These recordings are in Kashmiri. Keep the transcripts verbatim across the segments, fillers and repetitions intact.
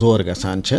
کمزور گژھان چھِ،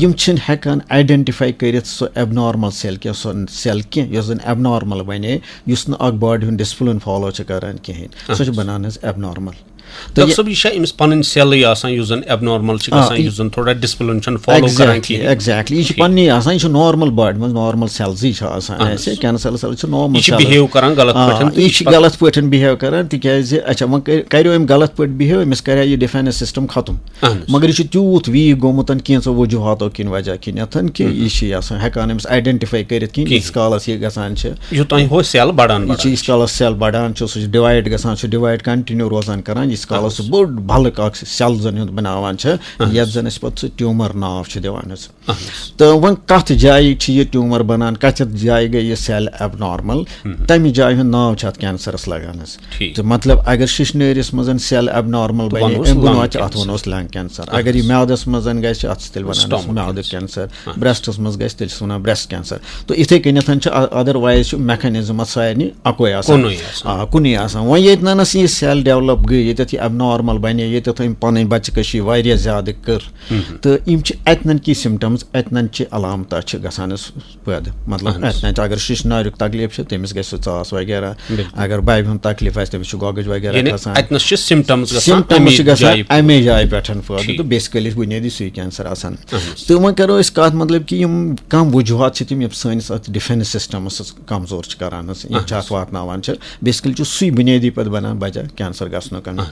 یِم چھِنہٕ ہٮ۪کان آیڈینٹیفائی کٔرِتھ سُہ ایب نارمل سیل کینٛہہ، سۄ سیل کینٛہہ یۄس زَن ایب نارمل بَنے، یُس نہٕ اکھ باڈی ہُنٛد ڈسپلن فالو چھِ کران کِہیٖنۍ، سۄ چھِ بنان حظ ایب نارمل۔ تہٕ ڈاکٹر یہِ صٲب، یہِ چھا أمِس پنٕنۍ سیلٕے آسان، یُس زن ایب نارمل چھِ آ، گژھان، یہِ یُس زن تھوڑا ڈسپلن چھُنہٕ فالو کران exactly، کِہیٖنۍ؟ Exactly۔ یہِ چھِ ٹھیٖک۔ پننی آسان، یہِ چھِ نارمل باڈی منٛز، نارمل سیلزٕے چھِ آسان اہن حظ۔ اَسہِ، کینسر سیلز چھِ نارمل یہِ چھِ سیلز۔ بِہیو کران غلط آ، پٲٹھۍ تہٕ یہِ یہِ چھِ چھِ پتہٕ غلط پٲٹھۍ بِہیو کران، تِکیازِ اچھا، وۄنۍ کر-، کریو أمۍ غلط پٲٹھۍ بِہیو، أمِس کریو یہِ ڈِفینس سسٹم ختم۔ اہن حظ۔ مگر یہِ چھُ تیوٗت ویٖک گوٚمُت کینٛژو وجوہاتو کِنۍ وجہ کِنٮ۪تھ کہِ یہِ چھِ یہِ آسان ہٮ۪کان أمِس آیڈینٹیفائی کٔرِتھ کِہیٖنۍ، کِہیٖنۍ۔ ییٖتِس کالس یہِ گژھان چھِ۔ یوٚتام ہُہ سیل بڑان یہِ چھِ بڑان ییٖتِس کالس سیل بڑان چھُ، سُہ چھُ ڈِوایڈ گژھان، سُہ چھُ ڈِوایڈ کنٹِنیو روزان کران، ییٖتِس کالس سُہ بوٚڑ بلک اکھ سیل زن ہُنٛد بناوان چھِ، اہن حظ۔ یتھ زن أسۍ پتہٕ سُہ ٹیوٗمر ناو چھِ دِوان حظ۔ اہن حظ۔ تہٕ وۄنۍ کتھ جایہِ چھِ یہِ ٹیوٗمر بنان، کتھ جایہِ گٔے یہِ سیل ایب نارمل، تمہِ جایہِ ہُنٛد ناو چھُ اتھ کینسرس لگان حظ۔ ٹھیٖک۔ تہٕ مطلب اگر شِشنٲرِس منٛز سیل ایب نارمل تہٕ بنہِ، ونوس امہِ بۄنہٕ lung واتہِ اتھ cancer۔ ونوس lung cancer. اہن اگر یہِ حظ۔ میادس منٛز گژھِ، اتھ چھِ تیٚلہِ ونان أسۍ stomach میادُک cancer۔ کینسر۔ اہن حظ۔ برٛیسٹس منٛز گژھِ، تیٚلہِ چھِ ونان برٛیسٹ کینسر۔ تہٕ یِتھے کٔنٮ۪تھ چھُ ا-، ادروایز چھُ میکھنزم اتھ سارنٕے اکوے آسان۔ کُنُے آسان۔ آ، کُنُے آسان۔ وۄنۍ ییٚتہِ نَنَس یہِ سیل ڈیولپ گٔے، ییٚتٮ۪تھ یہِ ایب نارمل بنے، ییٚتٮ۪تھ أمۍ پنٕنۍ بچہِ کشی واریاہ زیادٕ کٔر، تہٕ یِم چھِ اتنن کی سمٹمز، اتنن چھِ علامتہٕ چھِ گژھان حظ پٲدٕ۔ مطلب اہن حظ۔ اتنن چھِ، اگر شِشناریُک تکلیف چھُ، تٔمِس گژھِ سُہ ژاس وغیرہ۔ بِلکُل۔ اگر ببہِ ہُنٛد تکلیف آسہِ، تٔمِس چھُ گۄگٕج وغیرہ یعنی کھسان۔ اتنس چھِ سمٹمز گژھان سمٹمز امی چھِ گژھان جایہِ پٮ۪ٹھ۔ امی جایہِ پٮ۪ٹھ پٲدٕ، ٹھیٖک۔ تہٕ بیسکلی چھُ بُنیٲدی سُے کینسر آسان۔ اہن حظ۔ تہٕ وۄنۍ کرو أسۍ کتھ، مطلب کہِ یِم کم وجوہات چھِ تِم، یِم سٲنِس اتھ ڈِفینس سسٹمس کمزور چھِ کران حظ، یِم اہن چھِ حظ۔ اتھ واتناوان چھِ۔ بیسکلی چھُ سُے بُنیٲدی پتہٕ بنان وجہ کینسر گژھنُک۔ اہن حظ۔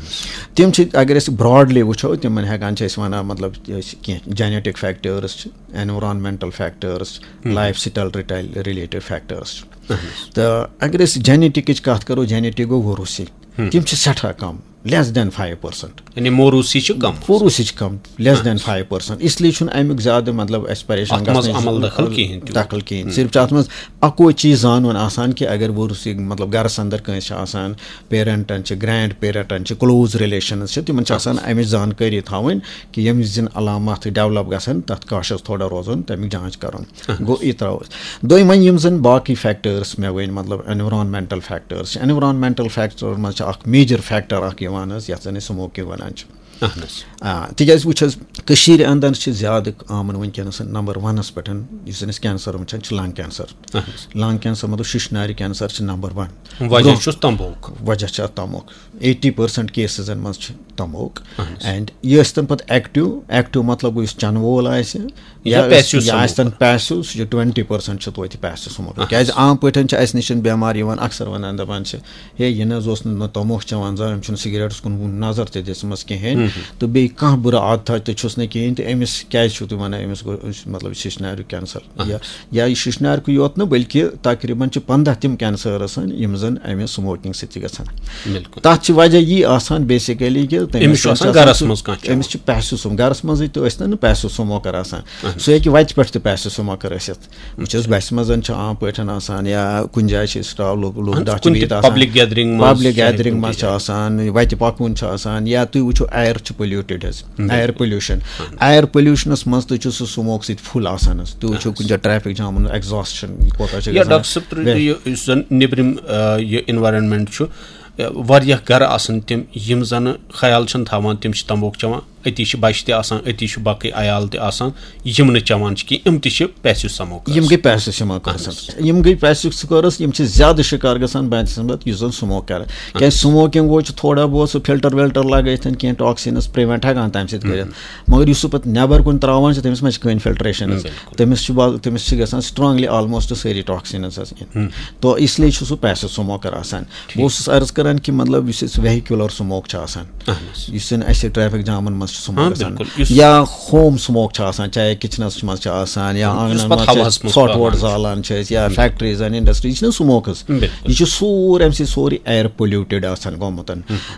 تِم چھِ، اگر أسۍ براڈلی وٕچھو، تِمن ہٮ۪کان چھِ أسۍ ونان، مطلب، أسۍ کینٛہہ جینیٹک فیکٹٲرٕس چھِ، اینورانمنٹل فیکٹٲرٕس چھِ، لایف سٹایل رِلیٹڈ فیکٹٲرٕس چھِ۔ اہن حظ۔ تہٕ اگر أسۍ جینیٹکٕچ کتھ کرو، جینیٹک گوٚو ووروثی۔ تِم چھِ سٮ۪ٹھاہ کم، less than five percent۔ یعنی موروثی چھِ کم۔ موروثی چھِ کم، less than five percent۔ اس لیے چھُنہٕ امیُک زیادٕ، مطلب، اَسہِ پریشان اتھ منٛز گژھنٕچ عمل دخل کِہیٖنۍ تہِ۔ دخل کِہیٖنۍ۔ صرف چھُ اتھ منٛز اکوے چیٖز زانُن آسان کہِ اگر ووروثی، مطلب، گرس اندر کٲنٛسہِ چھِ آسان، پیرنٹن چھِ، گرینڈ پیرنٹن چھِ، کلوز ریلیشنز چھِ، تِمن چھِ آسان امِچ زانکٲری تھاوٕنۍ کہِ ییٚمہِ وِزِ یِم علامات ڈیولپ گژھن، تتھ کاشس تھوڑا روزُن، تمیُک جانچ کرُن۔ گوٚو، یہِ ترٛاوو أسۍ۔ دوٚیِم، وۄنۍ یِم زَن باقٕے فیکٹٲرٕس مےٚ ؤنۍ، مطلب، اینورانمنٹل فیکٹٲرٕس چھِ، اینورانمنٹل فیکٹر منٛز چھِ اکھ میجر فیکٹر اکھ یِوان حظ، یَتھ زَن أسۍ سموکنگ وَنان چھِ۔ اہن حظ۔ آ، تِکیٛازِ وٕچھ حظ، کٔشیٖرِ اندر چھِ زیادٕ عامن وٕنکیٚنَس نمبر ونَس پٮ۪ٹھ، یُس زَن أسۍ کینسر وٕچھان چھِ، لنگ کینسر۔ اہن حظ۔ لنگ کینسر، مطلب، شِشنارِ کینسر چھِ نمبر ون۔ وجہ برونٛہہ چھُس تمبوک۔ وجہ چھِ اَتھ تموک۔ ایٹی پٔرسنٹ کیسزن منٛز چھِ تموک۔ اہن حظ۔ اینڈ یہِ ٲسۍ تن پتہٕ ایکٹیو، ایکٹیو مطلب گوٚو یُس چنہٕ وول آسہِ، یا یا ٲسۍ، passive یا آسہِ تن smoker۔ پیسو، سُہ چھُ ٹُوَنٹی پٔرسنٹ چھُ توتہِ پیسو سموکر۔ اہن حظ۔ کیازِ عام پٲٹھۍ چھِ اسہِ نِش بٮ۪مار یِوان، اکثر ونان، دپان چھِ، ہے، یہِ نہ حظ اوس نہٕ، نہ تموک چٮ۪وان زانٛہہ، أمۍ چھُنہٕ سگریٹس کُن نظر تہِ دِژمٕژ کِہیٖنۍ، تہٕ بیٚیہِ کانٛہہ بُرٕ عادتھا تہِ چھُس نہٕ کِہیٖنۍ، تہٕ أمِس کیازِ چھِو تُہۍ ونان أمِس گوٚو، مطلب، شِشناریُک کینسر؟ اہن یا، حظ۔ یا یہِ شِشنارکُے یوت نہٕ، بلکہِ تقریباً چھِ پنٛداہ تِم کینسرس یِم زن امہِ سموکنگ سۭتۍ چھِ گژھان۔ بِلکُل۔ تَتھ چھِ وجہ یی آسان بیسیکلی کہِ تٔمِس أمِس چھُ آسان آسان گرس سُہ، منٛز کانٛہہ چٮ۪وان۔ أمِس چھُ پیسو سموک، گرس منٛزٕے تہِ ٲسۍ تن نہٕ پیسو سموکر آسان، اہن۔ سُہ ہیٚکہِ وتہِ پٮ۪ٹھ تہِ پیسو سموکر ٲسِتھ۔ وٕچھ حظ، بسہِ منٛز چھِ عام پٲٹھۍ آسان یا کُنہِ جایہِ چھِ أسۍ لُکھ، لُکھ اہن، دَہ چھِ کُنہِ بِہِتھ تہِ آسان۔ Public gathering منٛز پبلک چھِ گیدرنگ کُنہِ منٛز چھِ جایہِ۔ آسان، وتہِ پکوُن چھِ آسان، یا تُہۍ وٕچھِو، ایر چھُ پولیوٹڈ حظ، بِلکُل۔ Air pollution. ایر پولیوشنس منٛز تہِ چھُ سُہ سموک سۭتۍ فُل آسان حظ۔ تُہۍ وٕچھِو اہن۔ کُنہِ جایہِ ٹریفک جامن، ایگزاسٹ چھُنہٕ کوتاہ چھُ یا گژھان۔ ڈاکٹر صٲب، تُہۍ ویسٹ۔ یہِ، یُس زن نیٚبرِم، آ، یہِ انوائرمنٹ چھُ، آ، واریاہ گرٕ آسان تِم، یِم زن خیال چھِنہٕ تھاوان، تِم چھِ تمبوک چٮ۪وان، أتی چھِ بچہِ تہِ آسان، أتی چھُ باقٕے عیال تہِ آسان، یِم نہٕ چٮ۪وان چھِ کینٛہہ، یِم تہِ چھِ پیسو سموکرس۔ یِم گٔے پیسو سموکرس۔ اہن حظ۔ یِم گٔے پیسو سموکرس، یِم چھِ زیادٕ شکار گژھان بنسبت یُس زن سموک کران۔ کیازِ اہن حظ۔ سموکنگ وول چھُ تھوڑا بہت سُہ فلٹر وِلٹر لگٲیِتھ کینٛہہ ٹاکسینس پریونٹ ہٮ۪کان تمہِ سۭتۍ کٔرِتھ۔ مگر یُس سُہ پتہٕ نٮ۪بر کُن تراوان چھِ، تٔمِس ما چھِ کٕہٕنۍ فلٹریشن حظ؟ بِلکُل۔ تٔمِس چھِ با-، تٔمِس چھِ گژھان strongly almost سٲری ٹاکسینز حظ اِن۔ تو اس لیے چھُ سُہ پیسو سموکر آسان۔ بہٕ اوسُس عرض کران کہِ مطلب یُس اَسہِ ویہیکیولر سموک چھُ آسان، اہن حظ۔ یُس زن اَسہِ ٹریفک جامن منٛز چھُ سموک ہاں، گژھان، بِلکُل۔ یُس یا ہوم سموک چھُ آسان، چاہے کِچنس منٛز چھِ آسان یا یُس آنگنن پتہٕ منٛز چھِ ہوہس أسۍ منٛز ژھۄٹھ وۄٹھ پاوان چھِ۔ زالان چھِ أسۍ یا فیکٹریز اینڈ انڈسٹریز، یہِ چھِنہٕ سموکس۔ بِلکُل۔ یہِ چھُ سورُے امہِ سۭتۍ سورُے ایر پولیوٹڈ آسان گوٚمُت۔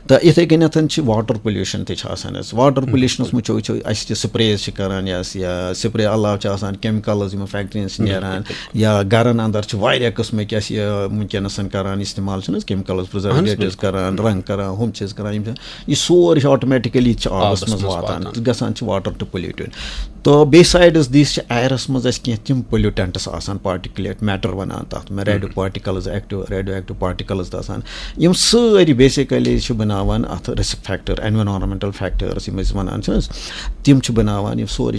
تہٕ یِتھے کٔنٮ۪تھ چھِ واٹر پولیوشن تہِ چھِ آسان حظ۔ واٹر پولیوشنس منٛز چھِ وٕچھو أسۍ تہِ سپریز چھِ کران یا یا سپرے علاوٕ چھِ آسان کیمیکلز یِم فیکٹرین چھِ نیران، یا گرن اندر چھِ واریاہ قٕسمٕکۍ اَسہِ یہِ وٕنکیٚنس کران استعمال، چھِنہٕ حظ کیمیکلز، پرزرویٹیوز کران، رنگ کران، ہُم چیٖز کران، یِم چھِ، یہِ سورُے چھُ آٹومیٹکلی چھِ آبس منٛز واتان تہٕ گژھان چھِ واٹر تہٕ پولیوٹیڈ. تہٕ بیٚیہِ سایڈَس دِس چھِ ایرَس منٛز اَسہِ کینٛہہ تِم پولیوٹینٹس آسان، پارٹیکولیٹ میٹر وَنان تَتھ منٛز، radio particles, active radio active particles تہِ آسان. یِم سٲری بیسیکلی چھِ بَناوان اَتھ رِسک فیکٹر، اینوارانمنٹل فیکٹرز یِم أسۍ وَنان چھِ حظ، تِم چھِ بَناوان، یِم سورُے